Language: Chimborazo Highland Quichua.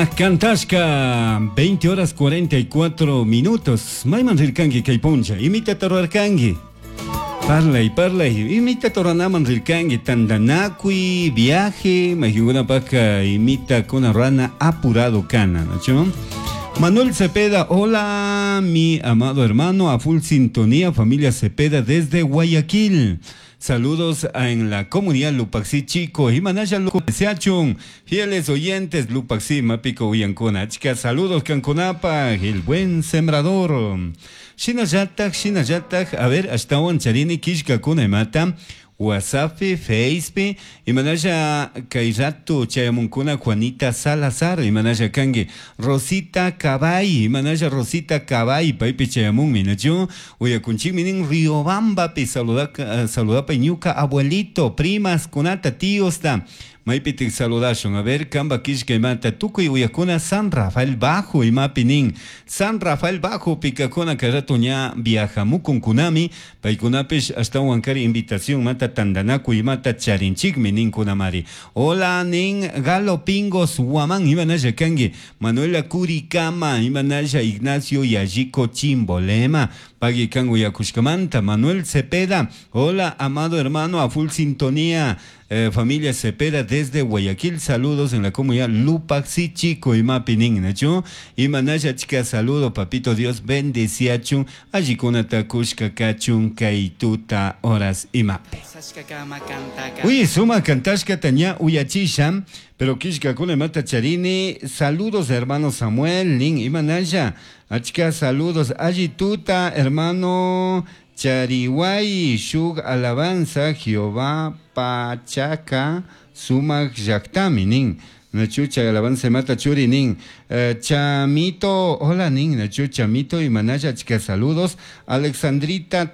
Cantashka 20 horas 44 minutos. Mayman rirkanki kay puncha. Imitata rurarkanki. Parlay, parlay. Imitata ruranaman rirkanki. Tandanakuy, viaje. Maykunapaka imitakuna rurana apurado kana. ¿No? Manuel Cepeda, hola mi amado hermano, a full sintonía, familia Cepeda desde Guayaquil. Saludos en la comunidad Lupaxi Chico. Y Manaya Lupaxiachun. Fieles oyentes, Lupaxi, Mapico Uyancona. Chicas, saludos Canconapa, el buen sembrador. Shinallatak, shinallatak, a ver, ashtawan charini kishkakuna imata. WhatsApp, Facebook, imanalla kay rato chayamunkuna Juanita Salazar, imanalla kanki Rosita Cabay, imanalla Rosita Cabay, paypi chayamunmi, nachu uyakunchikmi nin Riobambapi saludaka, saludapay ñuka abuelito, primas kunata, tíosta, maypitik saludashun, a ver, kamba kishka imata, tukuy uyakuna San Rafael Bajo, imapi nin, San Rafael Bajo, pikakuna kay rato ña viajamukunkunami, paykunapish ashtawan kari invitación mata tandanakuy imata charinchikmi ninkunamari. Hola nin Galo Pingos Huamán, imanalla kanki, Manuela Curicama, imanalla Ignacio Yallico Chimbolema, pagui kan uyakushkamanta, Manuel Cepeda, hola amado hermano, a full sintonía, familia Cepeda desde Guayaquil, saludos en la comunidad Lupaxi Chico y Mapinin, ¿nachu? Y manaya chica, saludo, papito Dios, bendeciachun, allikunata kushka kachun, kaituta horas y mape. Uy, suma kantashka taña uyachisha, pero kishka kuna mata charini, saludos hermano Samuel, nin, imanaya, achka saludos, allituta hermano Chariway, shug alabanza, Jehová Pachaca, sumak llaktami, nin. Nachu chay alabanza mata churi, nin. Chamito, hola, nin, Nachu, Chamito y Manaya, chica, saludos. Alexandrita.